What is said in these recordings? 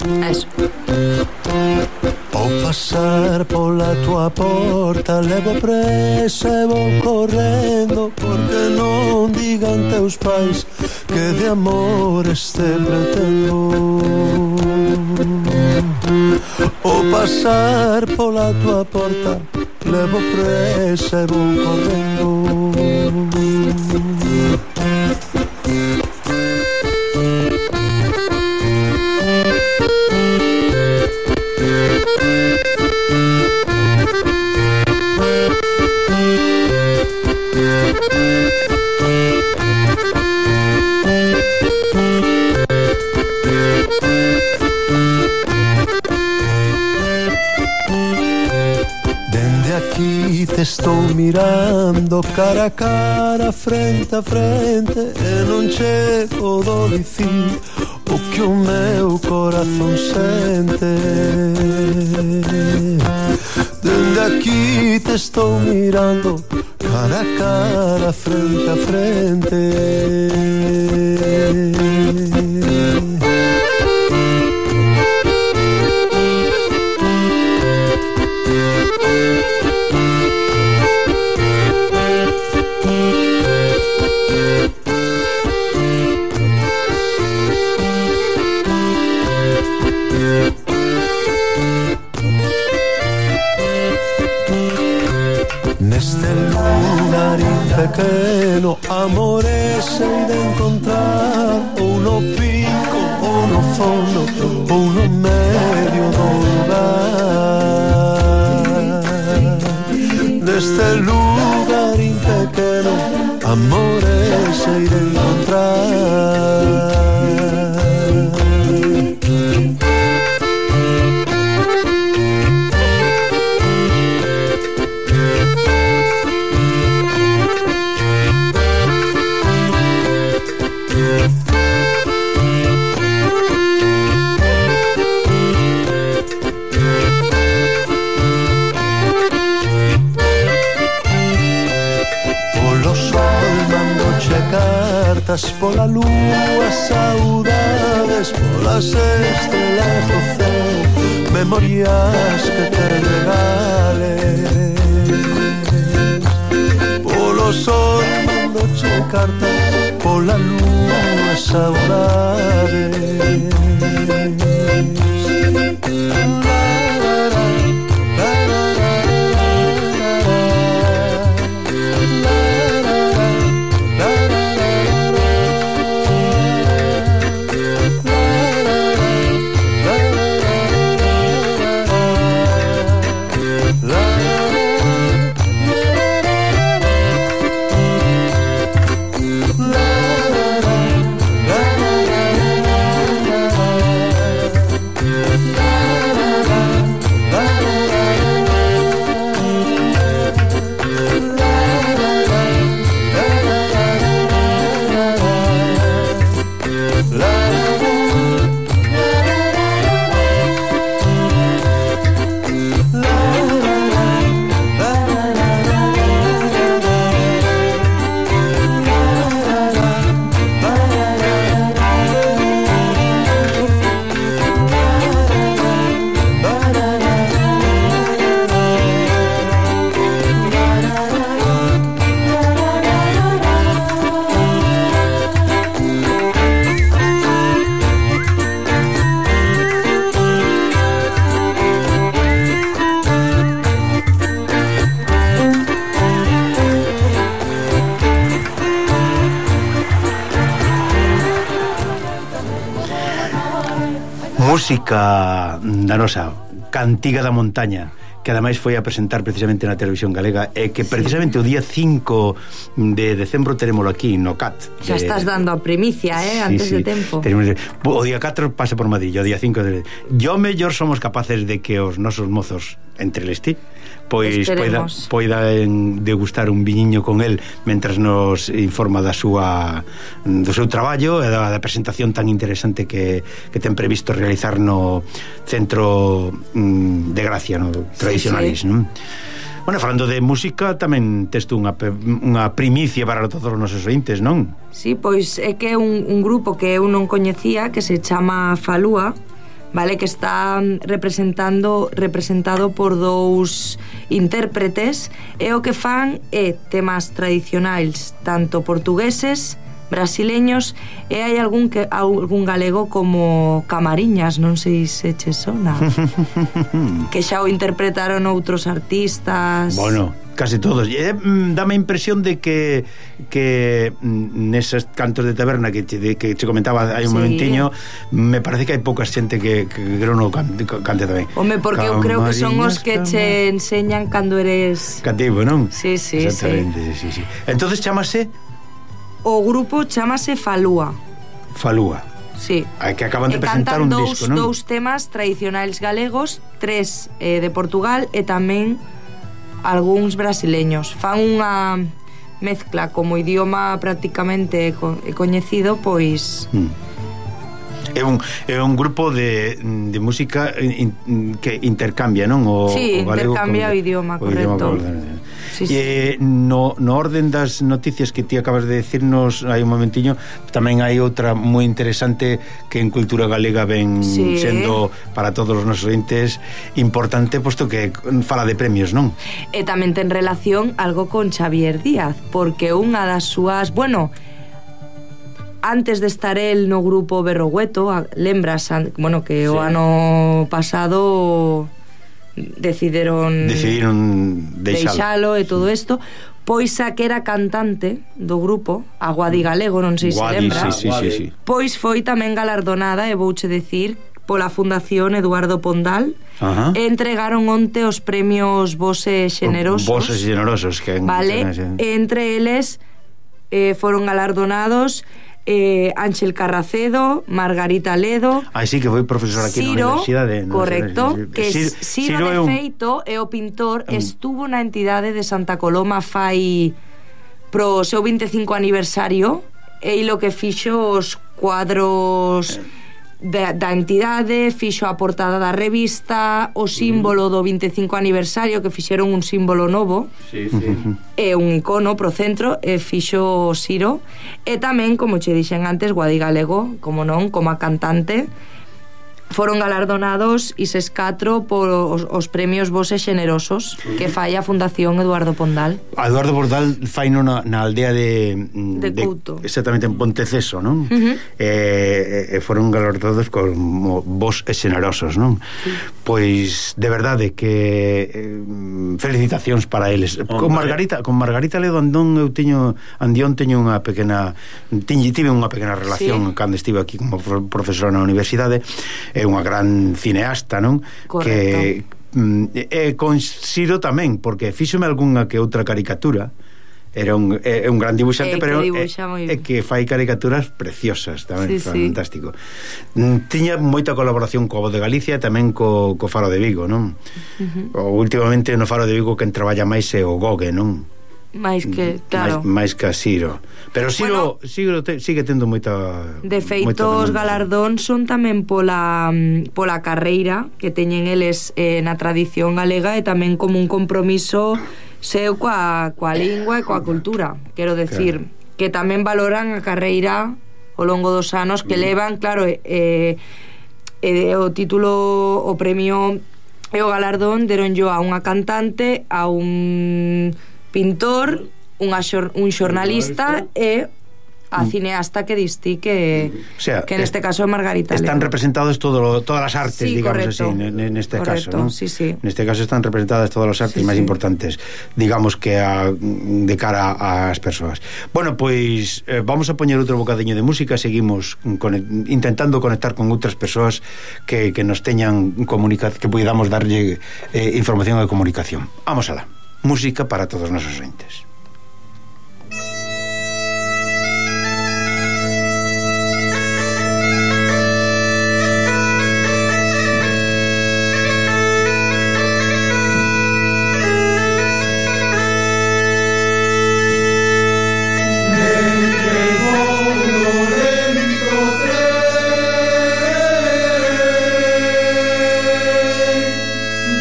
Eso. Ao pasar pola tua porta levo presa e vou correndo, porque non digan teus pais que de amores te pretendo. Ao pasar pola tua porta levo presa e vou correndo. Aquí te estou mirando cara a cara, frente a frente, e non chego do dicir o que o meu corazón sente. Dende aquí te estou mirando cara a cara, frente a frente. Pequeno amore sei de encontrar, ou no pico, ou no fondo, ou no medio do lugar. Neste lugarín pequeno amore sei de encontrar. Cartas pola lúa, saudades polas estrelas do céu, memorias que te regales. Polo sol mandoche cartas, pola lúa, saudades. Música da nosa Cantiga da Montaña, que ademais foi a presentar precisamente na televisión galega, e que precisamente o día 5 de decembro terémolo aquí no CAT. Xa estás dando a primicia, antes de tempo. O día 4 pasa por Madrid, o día 5 yo mellor somos capaces de que os nosos mozos entre eles ti pois poidan degustar un viñiño con el mentras nos informa do seu traballo e da presentación tan interesante que ten previsto realizar no Centro de Gracia, no Tradicionalis, non? Bueno, falando de música, tamén tes tú unha primicia para todos os nosos ointes, non? Sí, pois é que é un grupo que eu non coñecía, que se chama Falúa, vale, que está representado por dous intérpretes, e o que fan é temas tradicionais tanto portugueses, brasileños, e hai algún galego como Camariñas, non sei se che sona, que xa o interpretaron outros artistas. Bueno, casi todos. Dame a impresión de que neses cantos de taberna que che comentaba hai un momentiño, me parece que hai pouca xente que non cante tamén. Home, porque eu creo que son os que che enseñan cando eres cativo, non? Sí. Exactamente, sí. Entonces chamase? O grupo chamase Falúa. Falúa. Sí. Que acaban de presentar un disco, non? Dous temas tradicionais galegos, 3 de Portugal e tamén algúns brasileños. Fan unha mezcla como idioma prácticamente coñecido, pois... É un grupo de música que intercambia, non? Sí, intercambia o idioma, correcto. Sí. No orden das noticias que ti acabas de decirnos hai un momentiño, tamén hai outra moi interesante que en cultura galega ven sendo para todos os nosos entes importante, posto que fala de premios, non? E tamén ten relación algo con Xavier Díaz, porque unha das súas... Bueno, antes de estar el no grupo Berrogueto, lembras, bueno, que o ano pasado decidiron deixalo e todo isto, pois a que era cantante do grupo, a Guadi Galego, non sei se lembra, sí. Pois foi tamén galardonada, e vouche decir, pola Fundación Eduardo Pondal. E entregaron onte os premios Vose Xenerosos. Vose Xenerosos, que vale, entre eles foron galardonados Ángel Carracedo, Margarita Ledo. Sí, que foi profesor aquí na universidade. Correcto, que Ciro de feito é o pintor, estuvo na entidade de Santa Coloma fai pro seu 25 aniversario, e lo que fixo os cuadros da entidade, fixo a portada da revista, o símbolo do 25 aniversario, que fixeron un símbolo novo, e un icono pro centro, e fixo Ciro. E tamén, como che dixen antes, Guadi Galego, como non, como a cantante, foron galardonados ises 4 por os premios Vose Xenerosos que fai a Fundación Eduardo Pondal. A Eduardo Pondal fai na aldea de Couto, exactamente, en Ponteceso, non? Foron galardonados como Vose Xenerosos, non? Pois de verdade que felicitacións para eles. Con Margarita Ledo Andón eu teño unha pequena tive unha pequena relación cando estive aquí como profesor na universidade. É unha gran cineasta, non? Correcto. Que con Ciro tamén, porque fíxome algunha que outra caricatura. Era un gran dibuixante, pero é que fai caricaturas preciosas tamén, fantástico. Tiña moita colaboración co Voz de Galicia e tamén co Faro de Vigo, non? Últimamente no Faro de Vigo quen traballa máis é o Gogue, non? máis que, claro, máis que a Ciro. Pero Ciro, bueno, sigue tendo moita... De feito, os galardóns son tamén pola carreira que teñen eles na tradición galega, e tamén como un compromiso seu coa lingua e coa cultura. Quero decir, claro, que tamén valoran a carreira ao longo dos anos que levan, claro, o título, o premio e o galardón deron yo a unha cantante, a un pintor, un xornalista e a cineasta que distí que, o sea, que neste caso é Margarita están Ledo. Representadas todas as artes, sí, digamos correcto, así, neste caso, ¿no? Sí, sí. Neste caso están representadas todas as artes máis importantes, digamos que de cara ás persoas. Bueno, pois vamos a poñer outro bocadiño de música, seguimos intentando conectar con outras persoas que nos teñan que podamos darlle información e comunicación. Vamos alá. Música para todos os nosos entes.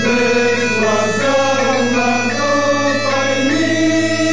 Desguazar una copa en mí.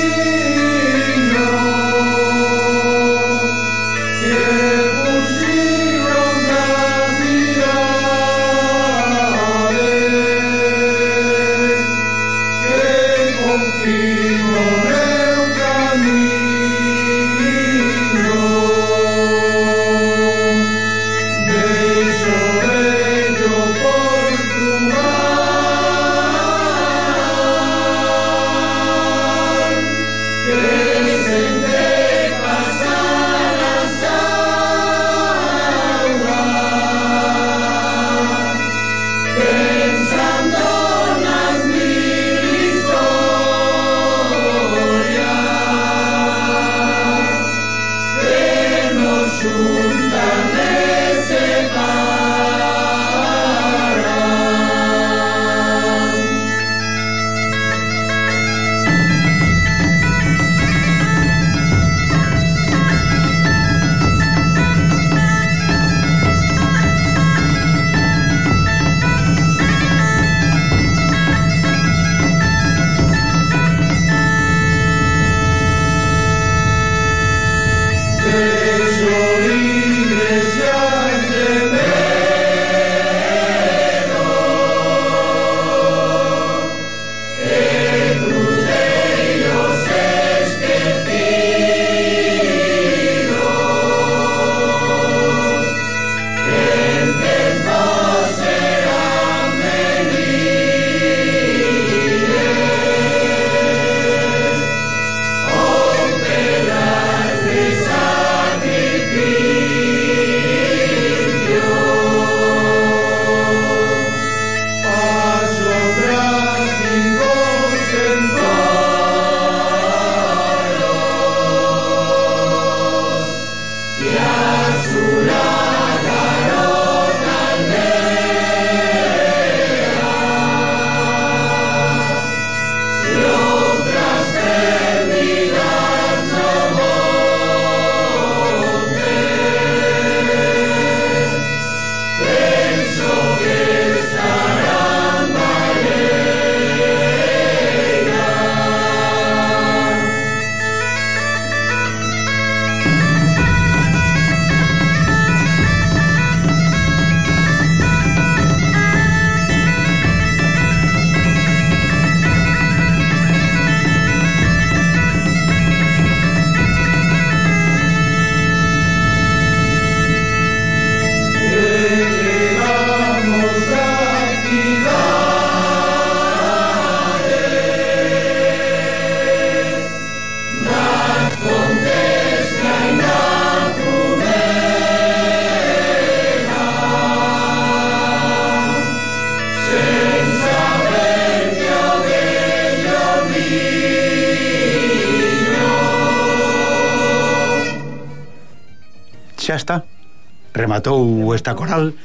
xa está, rematou esta coral,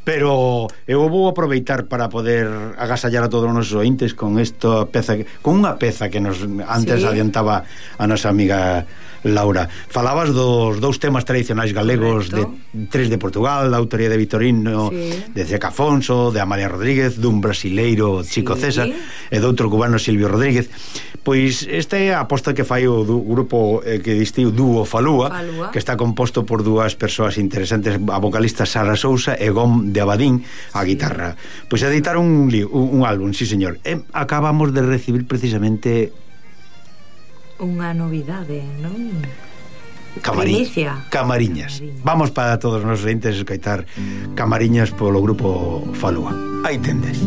pero eu vou aproveitar para poder agasallar a todos os nosos ointes con esta peza, con unha peza que nos antes adiantaba a nosa amiga Laura. Falabas dos dous temas tradicionais galegos. Correcto. De tres de Portugal, da autoría de Vitorino, de Ceca Afonso, de Amalia Rodríguez, dun brasileiro, Chico César, e do outro cubano, Silvio Rodríguez. Pois esta é a aposta que fai o grupo que distiu Dúo Falúa, que está composto por dúas persoas interesantes, a vocalista Sara Sousa e Gom de Abadín a guitarra. Pois editaron un álbum, sí señor. E acabamos de recibir precisamente unha novidade, non? Camariñas. Vamos para todos os nosos entes escoitar Camariñas polo grupo Falúa. Aí tendes.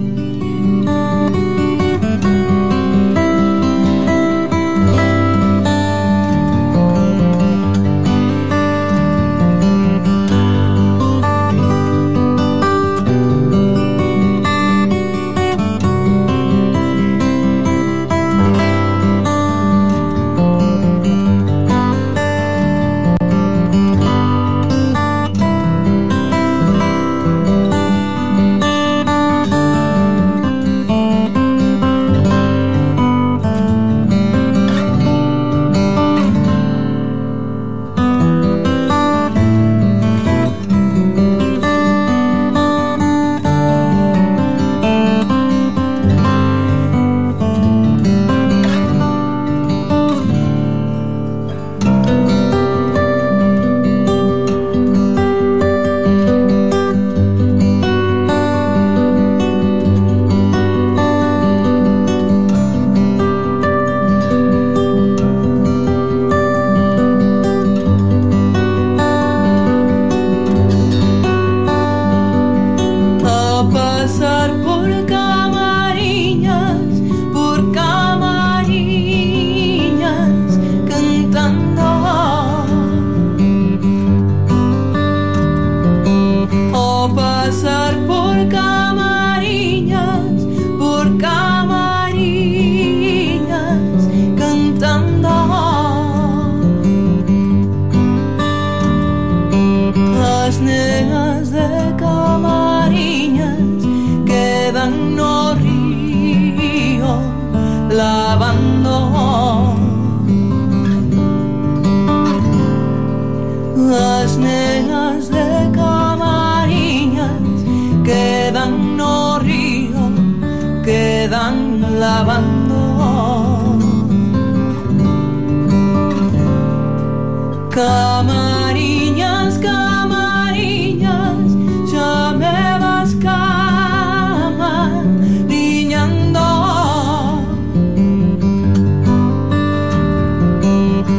Camariñas, camariñas, xa me vas camariñando.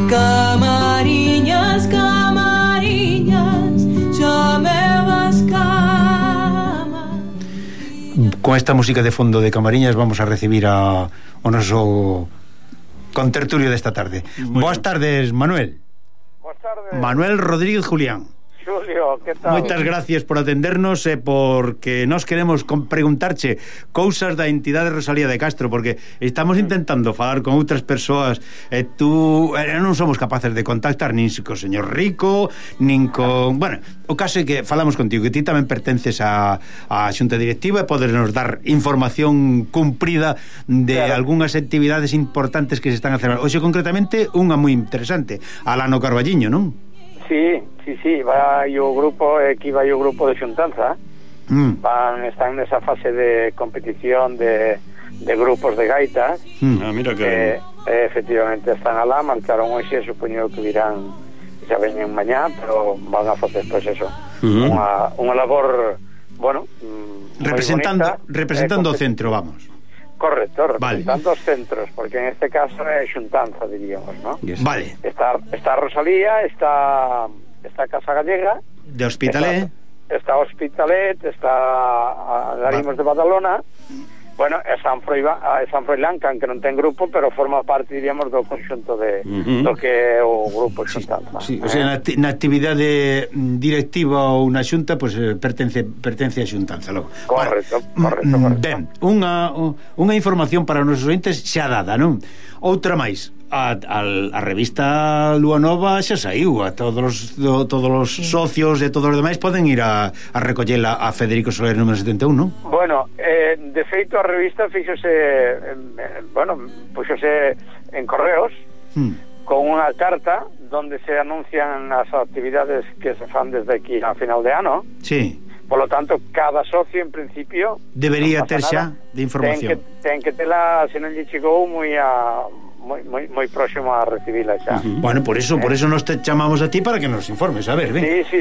Camariñas, camariñas, xa me vas camariñando. Con esta música de fondo de Camariñas vamos a recibir o noso contertulio desta tarde. Boas tardes, Manuel. Boas tardes. Manuel Rodríguez Julián. Xulio, que tal? Moitas gracias por atendernos e porque nós queremos preguntarche cousas da entidade Rosalía de Castro, porque estamos intentando falar con outras persoas e tú non somos capaces de contactar nin co señor Rico, nin con... Bueno, o caso é que falamos contigo, que ti tamén pertences a xunta directiva e podes nos dar información cumprida de algunhas actividades importantes que se están a celebrar. Hoxe concretamente unha moi interesante, Alano Carballiño, non? Sí, vai o grupo, aquí vai o grupo de xuntanza. Están nesa fase de competición de grupos de gaitas. Mira que efectivamente están alá, marcaron hoxe, supoño que virán, xa veñen mañá, pero van a facer pois eso, unha labor, bueno, representando o centro, vamos. Correcto, representando os centros, porque en este caso é xuntanza, diríamos, ¿no? Vale. Está Rosalía, está Casa Gallega, de Hospitalet, está Hospitalet, está Larimos de Badalona, bueno, é San Froilán, que non ten grupo, pero forma parte, diríamos, do conxunto do que é o grupo xuntanza. Sí, o sea, na actividade directiva ou na xunta, pois pertence a xuntanza logo. Correcto. Ben, unha información para os nosos ointes xa dada, non? Outra máis. a revista Lúa Nova xa saiu, a todos os socios e todos os demais poden ir a recollela a Federico Soler número 71, non? Bueno, de feito a revista fíxose puxose en correos con unha carta donde se anuncian as actividades que se fan desde aquí a final de ano. Sí. Por lo tanto, cada socio en principio debería ter xa de información. Ten que tela, se non lle chegou moi moi próximo a recibila xa. Bueno, por eso nos te chamamos a ti para que nos informes, a ver, ven. Sí.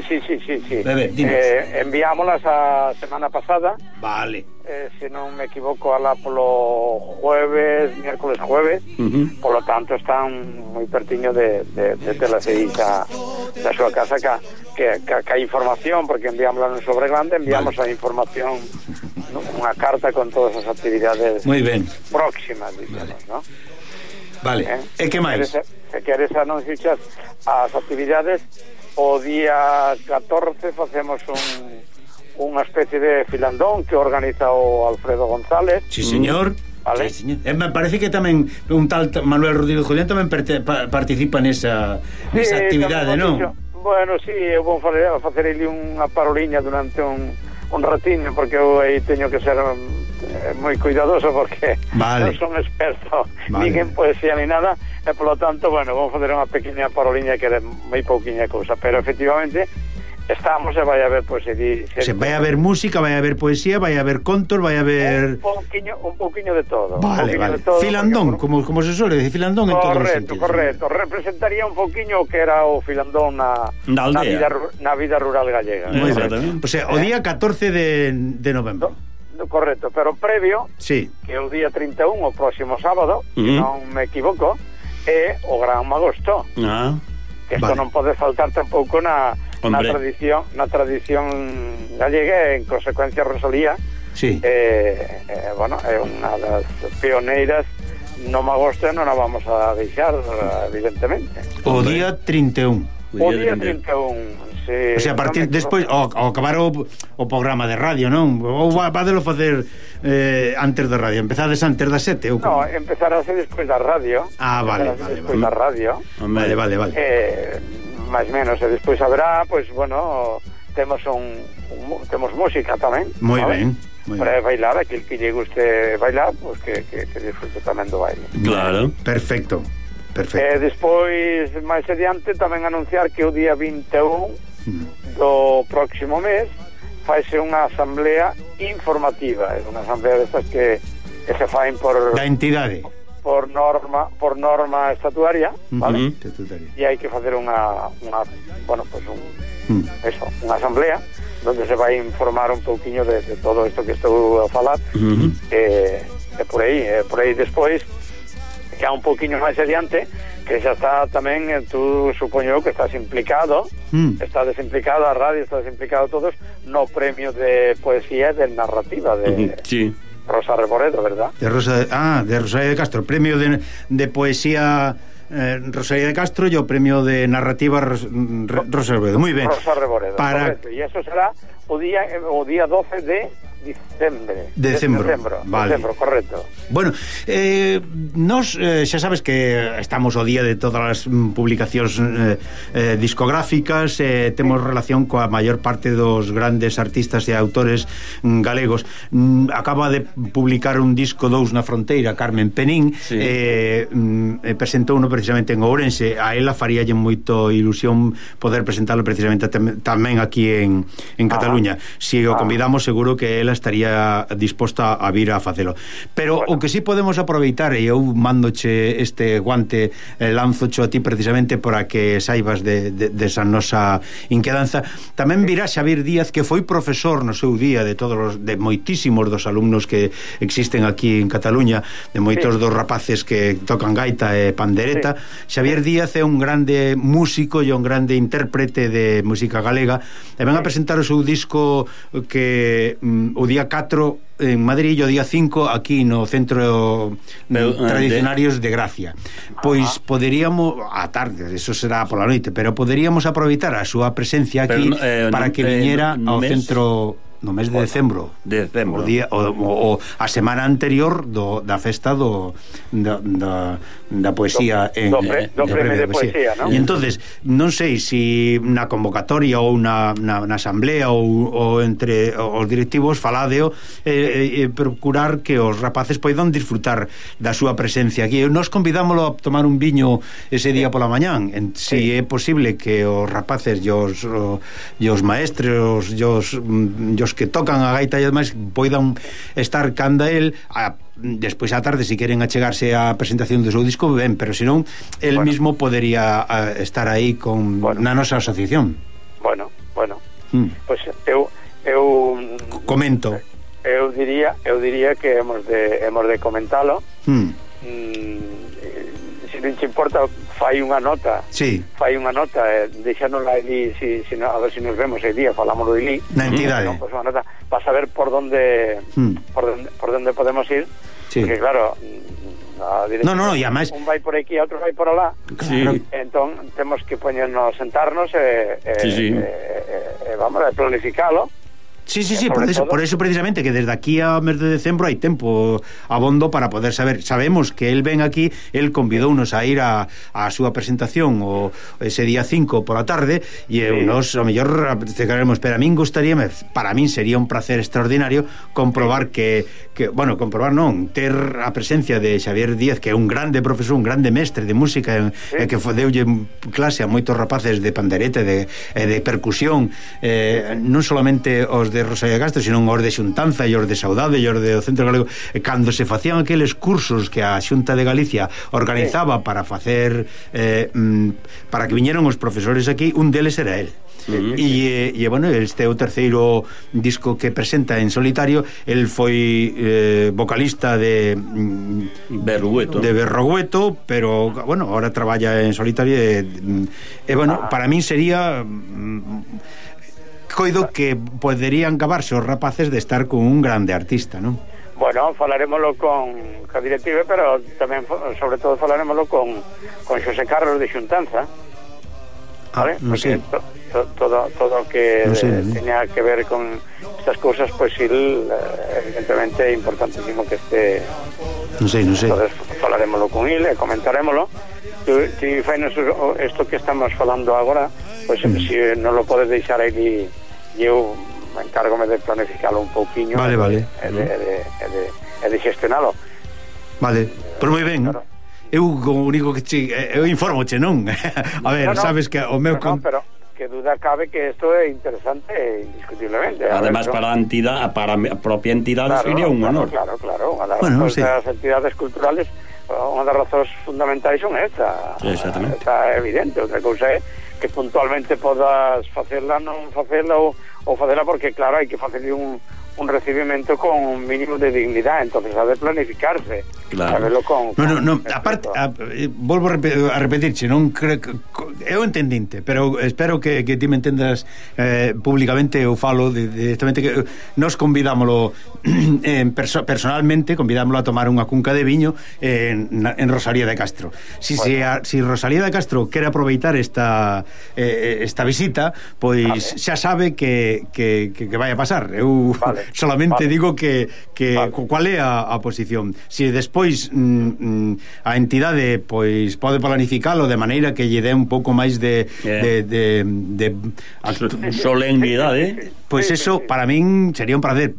Enviámolas a semana pasada. Vale. Se non me equivoco, alá polo miércoles jueves. Por lo tanto, están moi pertiño de telas aí da súa casa que a información, porque enviámosla no sobre grande, enviamos a información, unha carta con todas as actividades moi ben próximas, digamos, ¿no? Vale, e que máis? Se queres anunciar as actividades, o día 14 facemos unha especie de filandón que organiza o Alfredo González. Sí, señor. Vale. Sí, señor. Me parece que tamén un tal Manuel Rodríguez Julián tamén participa nesa actividade, non? Bueno, sí, eu vou facer ali unha paroliña durante un ratiño, porque eu aí teño que ser moi cuidadoso, porque non son experto nin en poesía ni nada, e polo tanto, bueno, vamos facer unha pequena paroliña que é moi pouquiña cousa, pero efectivamente estamos e vai haber poesía. Vai haber música, vai haber poesía, vai haber contos, vai haber un pouquiño de todo. Vale. De todo, filandón, como se suele decir, filandón en todos os sentidos. Correcto. Representaría un pouquiño que era o filandón na vida rural gallega. Moi ben. O sea, o día 14 de novembro. Correcto, pero previo, sí, que o día 31, o próximo sábado, se non me equivoco, é o Gran Magosto. Que isto non pode faltar tampouco na tradición gallega, en consecuencia Rosalía. Sí. Bueno, é unha das pioneiras no Magosto, non a vamos a deixar, evidentemente. O día 31. O día 31. Sí, o sea, a partir despois ao acabar o programa de radio, non? Ou vadelo facer antes da radio? Empezades antes das 7 ou como? No, empezarase despois da radio. Vale. Despois da radio. Vale. máis menos, e despois haberá, pois, bueno, temos música tamén. Moi ben. Para bailar, aquel que lle guste bailar, pois que disfrute tamén do baile. Claro. Perfecto. Despois, máis adiante, tamén anunciar que o día 21 do próximo mes faise unha asamblea informativa, é unha asamblea destas que se faen por da entidade, por norma estatuaria, ¿vale? E hai que facer unha asamblea onde se vai informar un pouquiño de todo isto que estou a falar. E por aí despois, que há un pouquiño máis adiante, que xa está tamén, tú supoño que estás implicado, estás implicado, a radio estás implicado todos no premio de poesía e de narrativa de Rosa Reboredo, ¿verdad? De Rosalía de Castro, premio de poesía Rosalía de Castro e o premio de narrativa Rosa Reboredo. Moi ben. Rosa Reboredo, correcto. E eso será o día 12 de Decembro, vale. Decembro, correcto. Bueno, nos xa sabes que estamos ao día de todas as publicacións discográficas, temos relación coa maior parte dos grandes artistas e autores galegos. Acaba de publicar un disco 2 na fronteira, Carmen Penín, presentouno precisamente en Ourense. A ela faríalle moito ilusión poder presentarlo precisamente tamén aquí en Cataluña. Si o convidamos, seguro que ela estaría disposta a vir a facelo. Pero o que sí podemos aproveitar, e eu mándoche este guante, lanzocho a ti precisamente para que saibas de esa nosa inquedanza. Tamén virá Xavier Díaz, que foi profesor no seu día de moitísimos dos alumnos que existen aquí en Cataluña, de moitos dos rapaces que tocan gaita e pandereta. Xavier Díaz é un grande músico e un grande intérprete de música galega, e ven a presentar o seu disco que o día 4 en Madrid e o día 5 aquí no Centro Tradicionarios de Gracia. Pois poderíamos, a tarde, eso será pola noite, pero poderíamos aproveitar a súa presencia aquí para que viñera ao Centro no mes de decembro. O día o a semana anterior da festa da poesía do premio de poesía, ¿no? E entonces non sei se na convocatoria ou na asamblea ou entre os directivos faladeo procurar que os rapaces poidan disfrutar da súa presencia aquí. Nos convidámoslo a tomar un viño ese día pola mañán, se é posible que os rapaces e os maestros e os que tocan a gaita e demais poidan estar canda el despois á tarde, se queren achegarse á presentación do seu disco, ben, pero senón el mismo podería estar aí na nosa asociación. Bueno, pois eu comento. Eu diría que hemos de comentalo. Se non te importa, fai unha nota, deixánosla ali, a ver se nos vemos el día, falámoslo ali na entidade, pues unha nota para saber por donde podemos ir, porque claro, e además un vai por aquí, outro vai por alá, entón temos que poñernos, sentarnos vamos a planificalo. Sí, por eso precisamente que desde aquí a mes de decembro hai tempo abondo para poder saber. Sabemos que el ven aquí, el convidounos a ir a súa presentación ese día 5 pola tarde e nos, a mellor queremos, pero a min gustaríame, para min sería un placer extraordinario comprobar que comprobar non, ter a presencia de Xavier Díaz, que é un grande profesor, un grande mestre de música e que deulle clase a moitos rapaces de pandereta de percusión, non solamente os de Rosalía de Castro, sino os de Xuntanza e os de Saudade e os do Centro Galego, cando se facían aqueles cursos que a Xunta de Galicia organizaba para facer para que viñeron os profesores aquí, un deles era él. E bueno, este é o terceiro disco que presenta en solitario. El foi vocalista de Berrogueto, pero bueno, ahora traballa en solitario e bueno, para min sería coido que poderían acabarse os rapaces de estar con un grande artista, non? Bueno, falaremoslo con a directiva, pero tamén, sobre todo, falaremoslo con Xosé Carlos de Xuntanza, ¿vale? Porque todo o que tenía que ver con estas cousas, pues evidentemente é importantísimo que este... Non sei. Entonces, falaremoslo con ele, comentarémoslo. Si fainos isto que estamos falando agora, pues se non lo podes deixar aí, eu encárgome de planificarlo un pouquiño, vale. e de gestionalo. Vale, pois moi ben. Claro. Eu o único que eu informoche, non? A ver, sabes que o meu pero que duda cabe que isto é interesante indiscutiblemente. Además, para a entidade, para a propia entidade, sería un honor. Claro. Unha das entidades culturales, unha das razóns fundamentais son esta. Exactamente. Está evidente. Outra cousa é que puntualmente podas facela, non facela ou facela, porque claro, hai que facerle un recibimento con un mínimo de dignidade, entonces ha de planificarse, sabelo con aparte, volvo a repetirche, non creo que eu entendinte, pero espero que ti me entendas públicamente. Eu falo directamente que nos convidámoslo personalmente, convidámoslo a tomar unha cunca de viño en Rosalía de Castro. Si Rosalía de Castro quere aproveitar esta visita, pois xa sabe que vai a pasar. Eu solamente digo que cual é a posición. Si despois a entidade pois pode planificalo de maneira que lle dé un pouco máis de solemnidade, pois eso para min sería un prazer.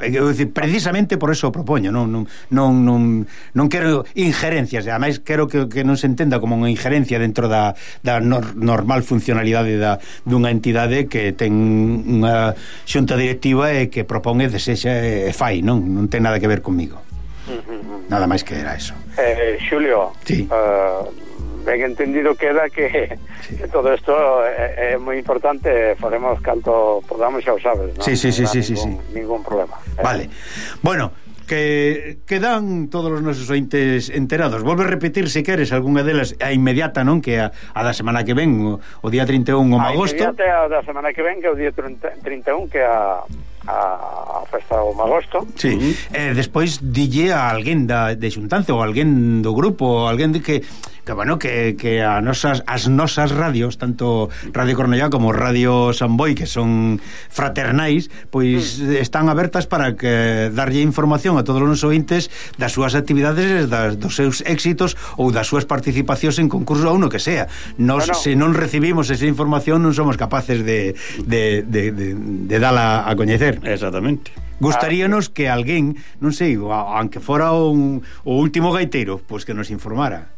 Precisamente por eso o propoño. Non quero injerencias, ademais quero que non se entenda como unha injerencia dentro da normal funcionalidade dunha entidade que ten unha xunta directiva e que propón e desexa e fai, non ten nada que ver comigo. Nada máis que era eso. Xulio, ben entendido queda que todo isto é moi importante, faremos canto podamos, xa o sabes, non? Sí. Ningún problema. Vale. Bueno, que quedan todos os nosos ointes enterados. Volve a repetir, se queres, algunha delas a inmediata, non? Que a da semana que ven, o día 31 o agosto. A inmediata a da semana que ven, que é o día 31, que a festa do agosto. Sí. Despois dille a alguén de Xuntanza ou alguén do grupo, alguén de que as nosas radios, tanto Radio Cornellá como Radio Samboy, que son fraternais, pois están abertas para que darlle información a todos os ointes das súas actividades, dos seus éxitos ou das súas participacións en concurso ou no que sea. Se non recibimos esa información non somos capaces de dala a coñecer. Exactamente. Gustaríanos que alguén, non sei, aunque fora o último gaiteiro, pois que nos informara.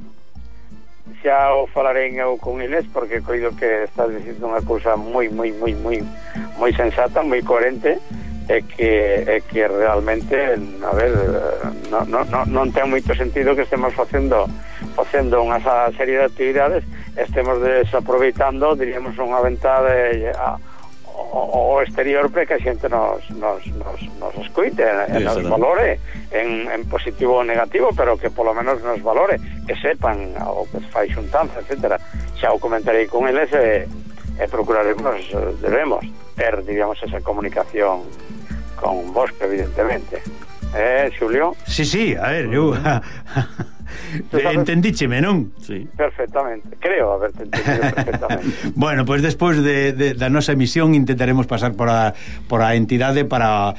Xa o falarei eu con eles, porque coido que estás dicindo unha cousa moi sensata, moi coherente, e que realmente, a ver, non ten moito sentido que estemos facendo unha serie de actividades, estemos desaproveitando, diríamos, unha ventada o exterior para que a xente nos escoite, nos valore en positivo ou negativo, pero que polo menos nos valore, que sepan o que fai xuntanza, etcétera. Xa o comentarei con eles e debemos ter, digamos, esa comunicación con vos, evidentemente. Xulio? Sí, a ver, eu entendícheme, non? Sí. Perfectamente, creo haberte entendido perfectamente. Bueno, pois despois da nosa emisión intentaremos pasar por a entidade para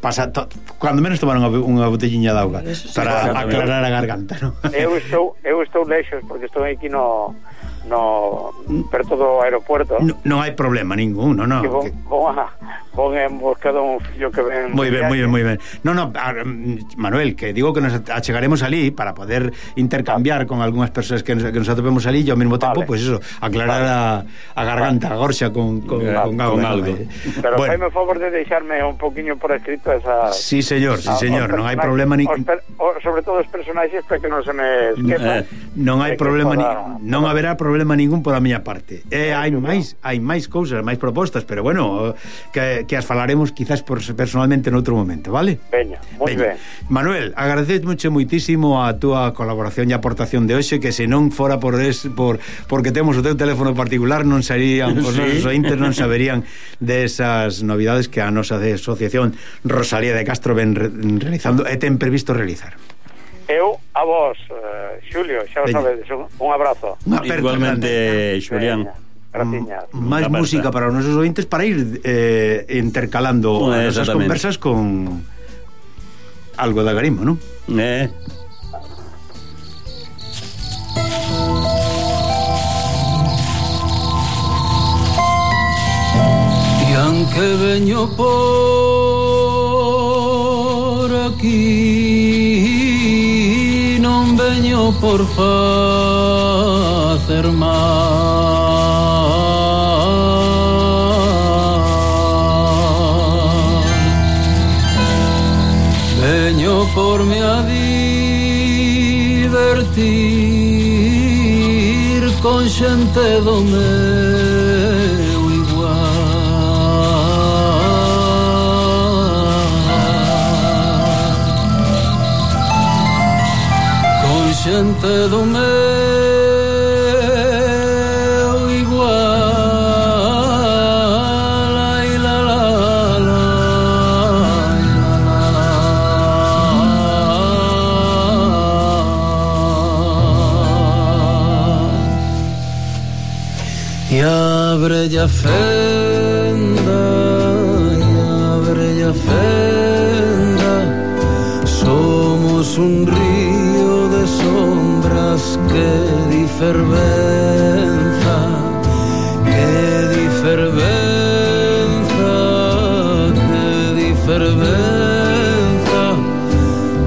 pasar cando menos tomar unha botelliña de auga para aclarar a garganta, non? Eu estou lexos porque estou aquí no perto do aeropuerto. Non hai problema ningún, non. Vou en busca dun fillo que ven. Moi ben. Non, Manuel, que digo que nos achegaremos ali para poder intercambiar con algunhas persoas que nos atopemos ali e ao mesmo tempo, pois eso, aclarar a garganta, a gorxa con algo. Pero faime o favor de deixarme un poquinho por escrito esa. Sí, señor, non hai problema ningún. Sobre todo os personaxes para que non se me esquepan. Non hai problema non haberá problema ningún por a miña parte. Hai máis cousas, máis propostas, pero bueno, que as falaremos quizás personalmente noutro momento, vale? Veña, moi ben. Manuel, agradecemos muitísimo a túa colaboración e aportación de hoxe, que se non fora porque temos o teu teléfono particular non sarían os nosos ointes, non saberían desas novidades que a nosa asociación Rosalía de Castro ven realizando e ten previsto realizar. Eu a vos, Xulio, xa o sabedes, un abrazo. Igualmente, Xulián. Máis música para os nosos ointes para ir intercalando esas conversas con algo de agarimo, non? E aunque veño por aquí, non veño por facer mal. Veño por me a divertir con xente do meu igual, con xente do meu igual. Ai, la, la, la. E abre a fenda, somos un río de sombras que di fervenza,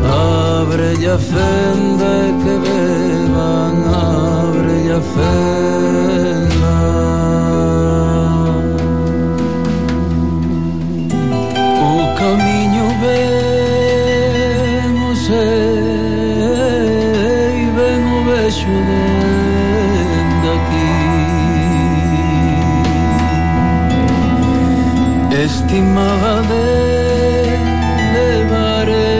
abre a fenda que beban, abre a fenda. O camiño vemos e ven o vexo dende aquí. Estimada de levaré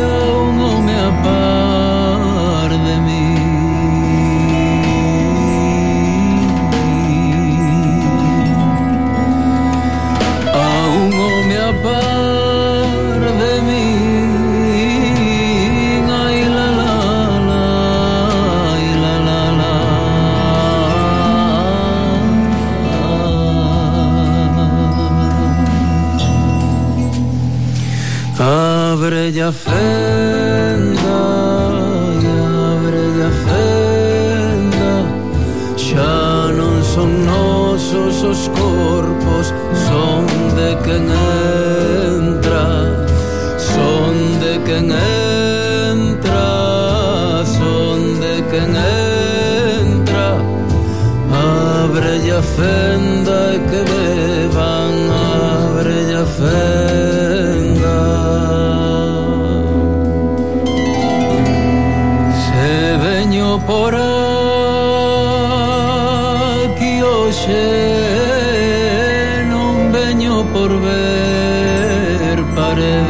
a un home a par de mí. Ábrelle a fenda, ábrelle a fenda, xa non son nosos os corpos, son de quen entra, son de quen entra, son de quen entra. Ábrelle a fenda e que beban, ábrelle a fenda. Se veño por aquí hoxe, non veño por ver paredes,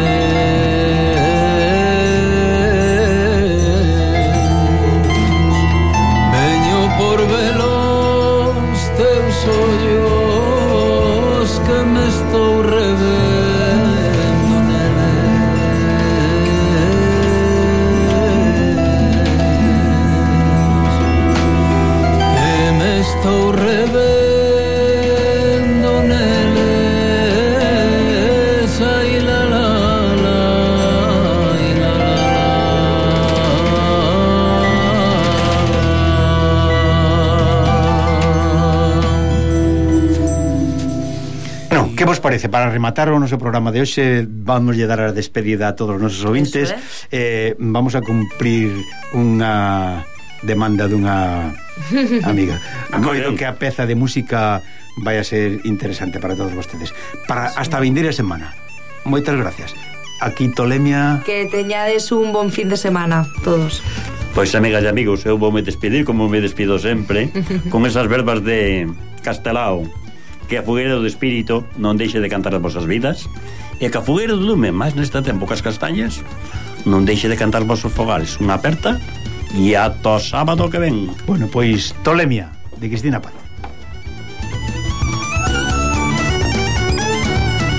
veño por velos teus ollos que me estou revendo neles, que me estou revendo neles. Ai la la la, ai la la la. No, que vos parece? Para rematar o noso programa de hoxe, vamos lle dar a despedida a todos os nosos ouvintes. Vamos a cumprir unha demanda dunha amiga. Coido que a peza de música vai a ser interesante para todos vostedes. Para hasta a vindeira semana. Moitas gracias. Aquí Tolemia. Que teñades un bon fin de semana todos. Pois, amigas e amigos, eu vou me despedir como me despido sempre, con esas verbas de Castelao: que a fogueira do espírito non deixe de cantar as vosas vidas, e que a fogueira do lume, máis neste tempo que as castañas, non deixe de cantar os vosos fogares. Unha aperta e ata o sábado que ven. Bueno, pois Tolemia, de Cristina Paz.